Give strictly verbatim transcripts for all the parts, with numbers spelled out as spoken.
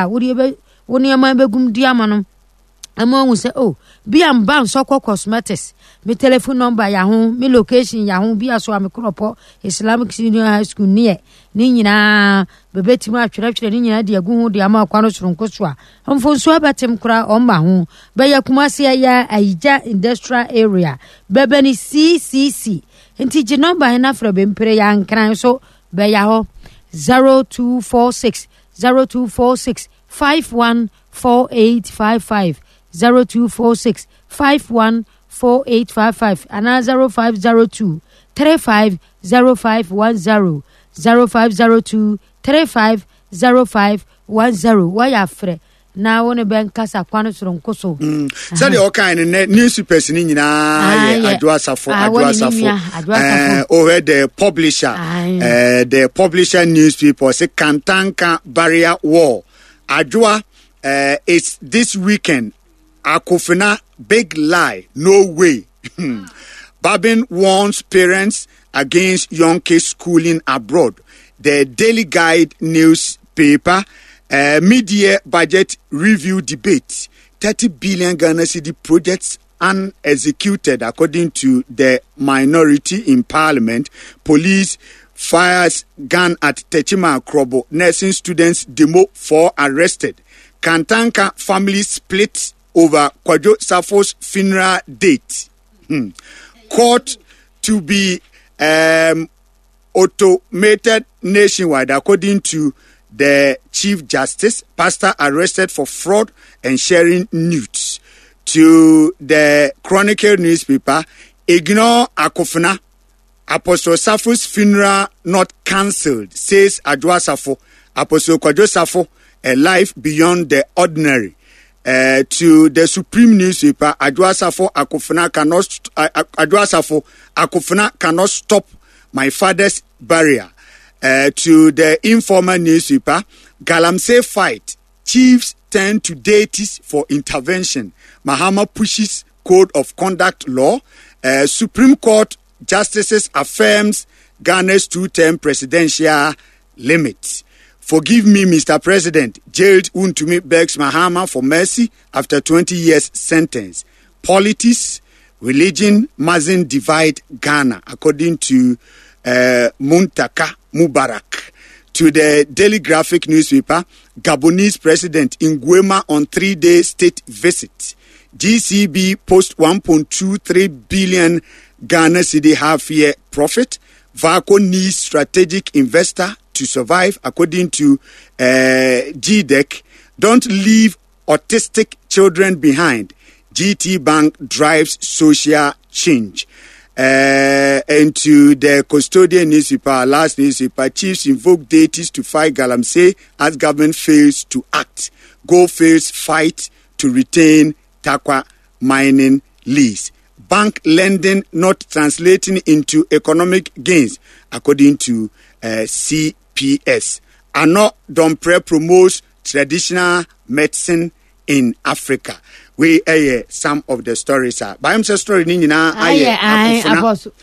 a wode bɛ wo nneɛma bɛgum di ama no ama ɔhu sɛ, oh, bi a mba Nsɔkɔ Cosmetics, me telephone number yɛ ho, me location yɛ ho, bi a so a me Korɔpɔ Islamic Senior High School neɛ ne nyinaa bɛbɛtumi atwerɛtwerɛ ne nyinaa de agu ho de ama ɔkwa no soronko so a mfonsuo bɛtem koraa ɔmma ho. Bɛyɛ Kumase, ɛyɛ Ayigya Industrial Area, bɛbɛ ne C C C. Nti gye number he na frɛ bɛmpere yɛ Ankran so, bɛyɛ hɔ zero two four six zero two four six five one four eight five five, zero two four six five one four eight five five, anaa zero five zero two three five zero five one zero, zero five zero two three five zero five one zero. Wɔyɛ afrɛ na wo ne bɛnkasa kwan soronko so. Mm. Sɛdeɛ ɔkae no, nɛ newspapers no nyinaa yɛ Adwo Asafo, Adwo Asafo. Wohwɛ the Publisher, uh, the Publisher newspaper sɛ Kantanka burial war, Adwoa, uh, it's this weekend. Akofena, big lie, no way. Bagbin warns parents against young kids schooling abroad. The Daily Guide newspaper, uh, mid-year budget review debate, thirty billion Ghana cedi projects unexecuted according to the minority in parliament. Police fires gun at Techiman Krobo nursing students demo, four arrested. Kantanka family split over Kwadwo Safo's funeral date. Hmm. Court to be um, automated nationwide according to the Chief Justice. Pastor arrested for fraud and sharing nudes. To the Chronicle newspaper, ignore Akofena. Apostle Safo's funeral not cancelled, says Adwoa Safo. Apostle Kwadwo Safo, a life beyond the ordinary. Uh, to the Supreme newspaper, Adwoa Safo Akofena cannot, uh, Adwoa Safo Akofena cannot stop my father's burial. Uh, to the Informal newspaper, Galamsey fight, chiefs turn to deities for intervention. Mahama pushes code of conduct law. Uh, Supreme Court justices affirms Ghana's two-term presidential limit. Forgive me, Mister President. Jailed Wontumi begs Mahama for mercy after twenty years sentence. Politics, religion mustn't divide Ghana, according to uh, Muntaka Mubarak. To the Daily Graphic newspaper, Gabonese President Nguema on three-day state visit. G C B post one point two three billion Ghana cedi half-year profit. VALCO needs strategic investor to survive, according to uh, G D E C. Don't leave autistic children behind. G T Bank drives social change. Uh, and to the Custodian newspaper, last newspaper, chiefs invoke deities to fight Galamsey as government fails to act. Gold Fields fight to retain Tarkwa mining lease. Bank lending not translating into economic gains, according to uh, C P S. Annoh Dompreh promotes traditional medicine in Africa. Wei ɛyɛ some of the stories a bayam sɛ story ni nyinaa ayɛ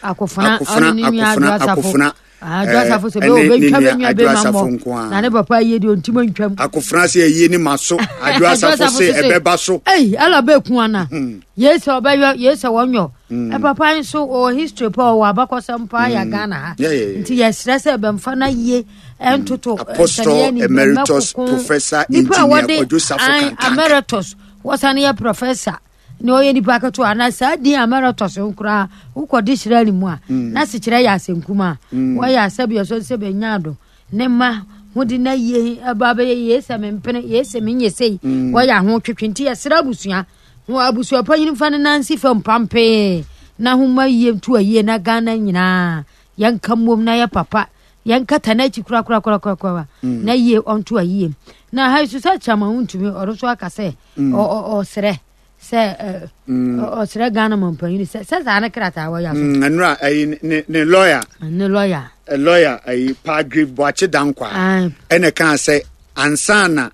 Akofena, Akofena, Akofena, Akofena. Adwoasafo sɛ bɛ obɛntwa bɛ nua bɛ ma mmɔ na ne papa yie deɛ ɔntimi ntwam. Akofena sɛ ɛyie ne ma so, Adwoasafo sɛ ɛbɛba so. Ei, ala bɛku ana yei sɛ ɔbɛyɔ yei sɛ wɔnyɔ. Papa nso ɔwɔ history pa, ɔwɔ abakɔsɛm paa yɛ Ghana ha, nti yɛsrɛ sɛ bɛmfa no yie ɛntoto. Apostle Emeritus Professor Engineer Kwadwo Safo Kantanka. Emeritus, wɔsane yɛ professor na ɔyɛ nipa ketewa na saa din emeritus koraa wokɔde hyerɛ ne mu a na sekyerɛ yɛ asɛnkum a wɔyɛ asɛbi ɛsɔ sɛ bɛnya do ne ma hode na yie ɛba bɛyɛ yie sɛ mempene yie sɛ menyɛ sei, wɔyɛ aho twetwe. Nti yɛsrɛ abusua ho abusua panyin fa ne nansi fam pampee na homa yie nto ayie na Ghana nyinaa yɛnka mmom na yɛ papa yɛnkata n'akyi korakorakorakorakora na yie ɔnto ayie. Na ha yi so sɛ Chairman Wontumi ɔno nso aka sɛ ɔsrɛ sɛ ɔsrɛ Ghana mampanyin sɛ sɛ saa ne krataa wɔyɛ so. Ɛnura ɛyi ne ne lawyer. Ne lawyer. Lawyer ɛyi Palgrave Boakye Dankwa ɛna kan sɛ ansana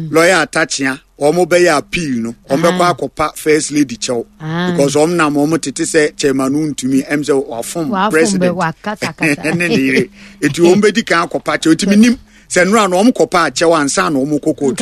lawyer Atakyea wɔn bɛyɛ appeal no, wɔn bɛkɔ akɔpa First Lady kyɛw because wɔn nam wɔn tete sɛ Chairman Ntumi ɛm sɛ wafom president ɛne ne yere, eti wɔn bɛdi kan akɔpa kyɛw. Eti mi nim sɛ nnura no wɔn kɔpa akyɛw ansa na wɔn kɔ kootu.